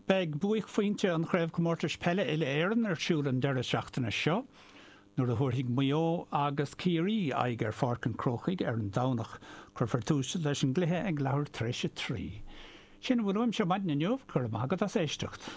Beidh buaicphointe an Chraobhchomórtais Peile Uile-Éireann ar siúl an deireadh seachtaine seo nuair a thabharfaidh Maigh Eo agus Ciarraí aghaidh ar Pháirc an Chrócaigh ar an Domhnach. Cuirfear tús leis an gcluiche ag leathuair tar éis a 3. Sin a bhfuil uaimse maidin inniu, go raibh maith agat as éisteacht.